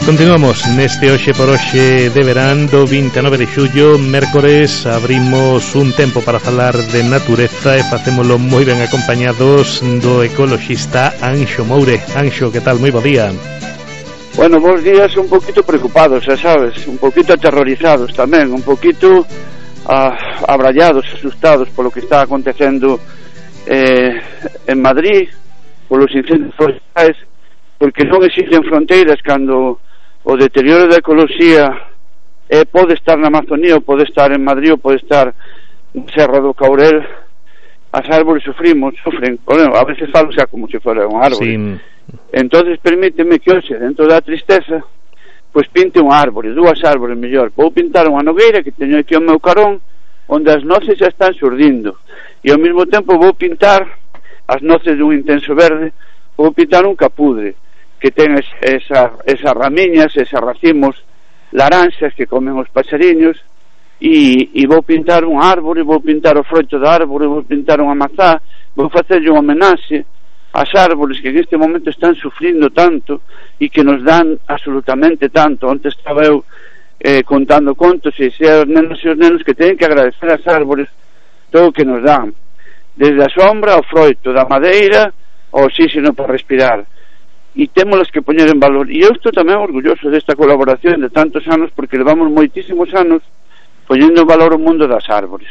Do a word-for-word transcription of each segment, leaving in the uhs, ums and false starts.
Continuamos neste Hoxe por Hoxe de verán do vinte e nove de xullo, mércores. Abrimos un tempo para falar de natureza e facémolo moi ben acompañados do ecoloxista Anxo Moure. Anxo, que tal? Moi bo día. Bueno, bons días, un poquito preocupados, xa sabes, un poquito aterrorizados tamén, un poquito ah, abrallados, asustados polo que está acontecendo eh, en Madrid, polos incendios forestais, porque non existen fronteiras cando o deterioro da ecoloxía eh, pode estar na Amazonía, ou pode estar en Madrid, ou pode estar na Serra do Caurel. As árbores sufrimos, sufren, bueno, a veces falo xa como se fora un árbore. Sí. Entonces permíteme que hoxe, dentro da tristeza, pois pinte un árbore, dúas árbores mellor. Vou pintar unha nogueira que teño aquí ao meu carón, onde as noces xa están xurdindo, e ao mesmo tempo vou pintar as noces dun intenso verde. Vou pintar un capudre que ten esa, esas ramiñas, esas racimos laranxas que comen os pasariños, e, e vou pintar un árbore, vou pintar o froito da árbore, vou pintar unha mazá, vou facerlle unha homenaxe ás árbores que en este momento están sufrindo tanto e que nos dan absolutamente tanto. Onte estaba eu eh, contando contos e xe os nenos e os nenos que teñen que agradecer ás árbores todo o que nos dan, desde a sombra ao froito, da madeira ao oxígeno para respirar, e témolas que poñer en valor. E eu estou tamén orgulloso desta colaboración de tantos anos, porque levamos moitísimos anos poñendo en valor o mundo das árbores.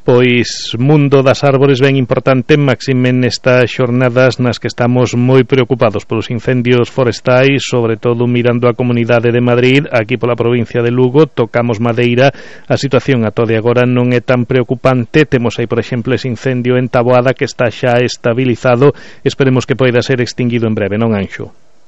Pois mundo das árbores ben importante, máxime nestas xornadas nas que estamos moi preocupados polos incendios forestais, sobre todo mirando a comunidade de Madrid. Aquí pola provincia de Lugo tocamos madeira, a situación ata de agora non é tan preocupante. Temos aí, por exemplo, ese incendio en Taboada que está xa estabilizado, esperemos que poida ser extinguido en breve, non, Anxo?